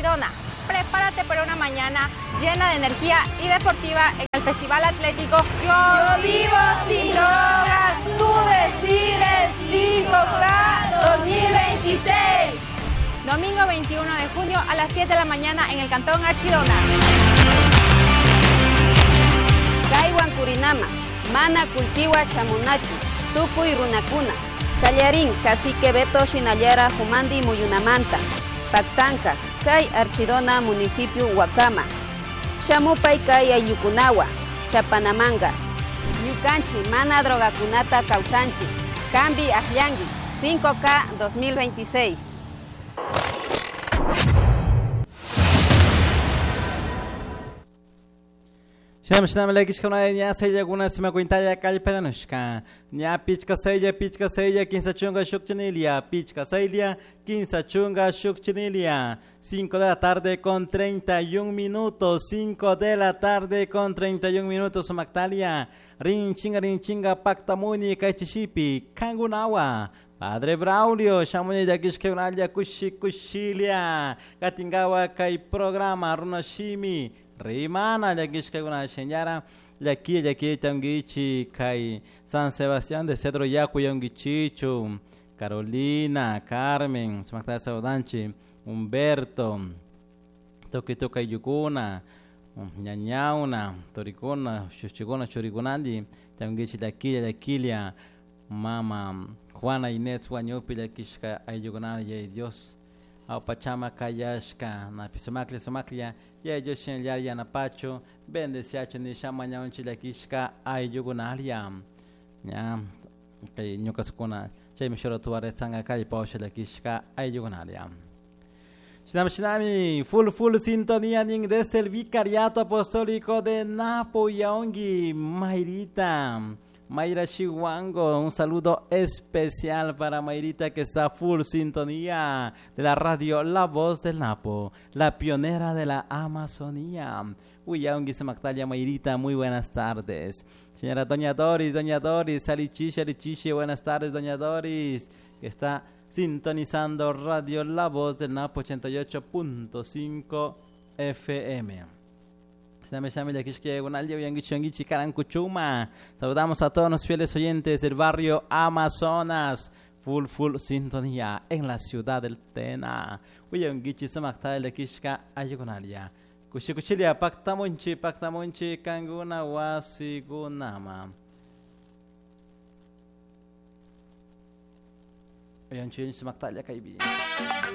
Archidona. Prepárate para una mañana llena de energía y deportiva en el Festival Atlético Yo Vivo Sin Drogas, Tú Decides 5K 2026. Domingo 21 de junio a las 7 de la mañana en el Cantón Archidona. Kaywan Kurinama, mana kulkiwa shamunachu, tukuy runakuna. Kallarin, cacique Beto Shinallara Jumandi Muyunamanta, Pactanca, kay Archidona municipio Huacama, Shamupay kay Ayukunawa, Chapanamanga, Ñukanchi, mana drogakunata kawsanchi, Kambi Ajiangi, 5K 2026. Shinam shinam lakishkuna ña sayllakuna simakuintalla kallpananushka ña pichka saylla 5 chunka shukchinilia pichka saylla 15 chunka shukchinilia. 5 de la tarde con 31 minutos, 5 de la tarde con 31 minutos. Sumactalia rinchinga rinchinga pactamuni kaychishipi kangunawa Padre Braulio, shamuni llakishkakunalla kushi kushilia katingawa kay programa runashimi rimana llakishkakuna shinllara llaki llaki tanguichi kay San Sebastián de Cedro Yacu yanguichichu Carolina, Carmen, sumakta saudanchi, Humberto, tukuy tukuy yukuna, ñañauna, torikuna, shushchikuna, churikunandi, tanguichi llakilla llakilia, mama Juana Inés Huañupi llakishka ayllukunana yay Dios, awpachama kayashka, napi sumaklla sumaklla, yay Dios shinallar yanapachu, bendeciachu nisha mañawanchi llakishka ayllukunalla, ña, kay ñukasukuna, chaymi shuratuware tsanga kallpawasha llakishka ayllukunalla. Shinami shinami, full full sintonía nin desde el Vicariato Apostólico de Napo Yaongi, Mayrita, Mayra Chihuango, un saludo especial para Mayrita que está full sintonía de la radio La Voz del Napo, la pionera de la Amazonía. Uy, Yaongi Samactalla, Mayrita, muy buenas tardes. Señora Doña Doris, Doña Doris, Alichiche, Alichiche, buenas tardes, Doña Doris, que está sintonizando Radio La Voz del Napo 88.5 FM. Saludamos a todos los fieles oyentes del barrio Amazonas. Full, full sintonía en la ciudad del Tena. Kushi kushilia paktamunchi, paktamunchi, kanguna wasigunama. Uyanchi sumaktalia kaybi.